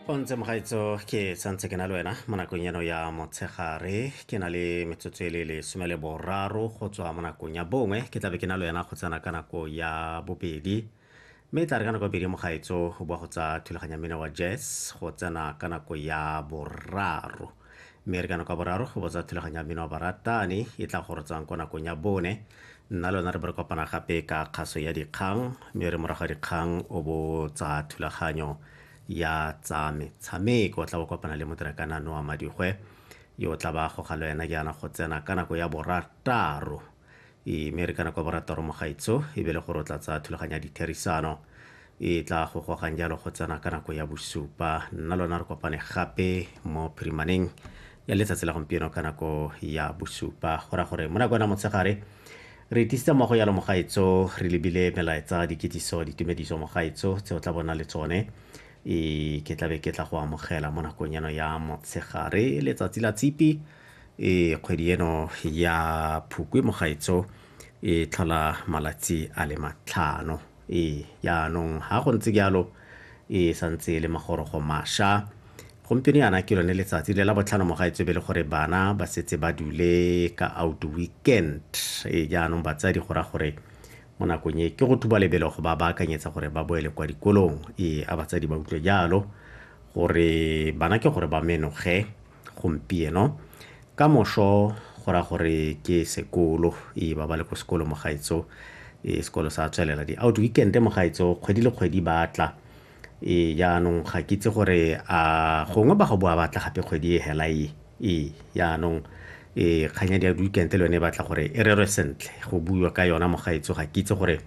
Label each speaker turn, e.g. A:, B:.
A: Go ntse mogaetso ke santse ke na le wena mo nakong eno ya motshegare. Ke na le metsotso e le lesome le boraro go tswa mo nakong ya bongwe, ke tlabe ke na le wena go tsena ka nako ya bobedi. Mme e tla re ka nako ya bobedi mogaetso go boa go tsa thulaganya mmino wa jazz go tsena ka nako ya boraro. Mme re ka nako ya boraro go botsa thulaganya mmino wa baratani e tla go rotsang kwa nakong ya bone. Nna le wena re bo re kopana gape ka kgaso ya dikgang, mme re morago ga dikgang o bo tsa thulaganyo ya tsa metshameko. O tla bo kopana le motirakana Noa Madigwe yo o tla ba goga le wena jaana go tsena ka nako ya borataro. E mme re ka nako ya borataro mogaetso e be le gore o tla tsaya thulaganyo ya ditherisano e tla go gogang jalo go tsena ka nako ya bosupa. Nna le wena re kopane gape mo phirimaneng ya letsatsi la gompieno ka nako ya bosupa. Go raya gore mo nakong ya motshegare re itisitse mmogo jalo mogaetso, re lebile melaetsa, dikitsiso, ditumediso mogaetso tse o tla bona le tsone. E ke tlabe ke tla go amogela mo nakong eno ya motshegare letsatsi la tshipi, e kgwedi eno ya Phukwi mogaetso e tlhola malatsi a le 5. E jaanong ha go ntse jalo e santse e le magorogo mašwa. Gompieno yana ke lone letsatsi le la botlhano mogaetso, e be le gore bana ba setse ba dule ka out weekend. E jaanong batsadi go raya gore mo nakong e ke go thuba lebelo go ba baakanyetsa gore ba boele kwa dikolong. E a batsadi ba utlwe jalo gore bana ke gore ba menoge gompieno, ka moso go raya gore ke sekolo. E ba ba le ko sekolo mogaetso, e sekolo sa tswelela di out weekend mogaetso kgwedi le kgwedi ba tla. E jaanong ga ke itse gore a gongwe ba go boa ba tla gape kgwedi e hela e. E jaanong e kgang ya di weekend le yone e batla gore e rerwe sentle, go buiwa ka yona mogaetso. Ga ke itse gore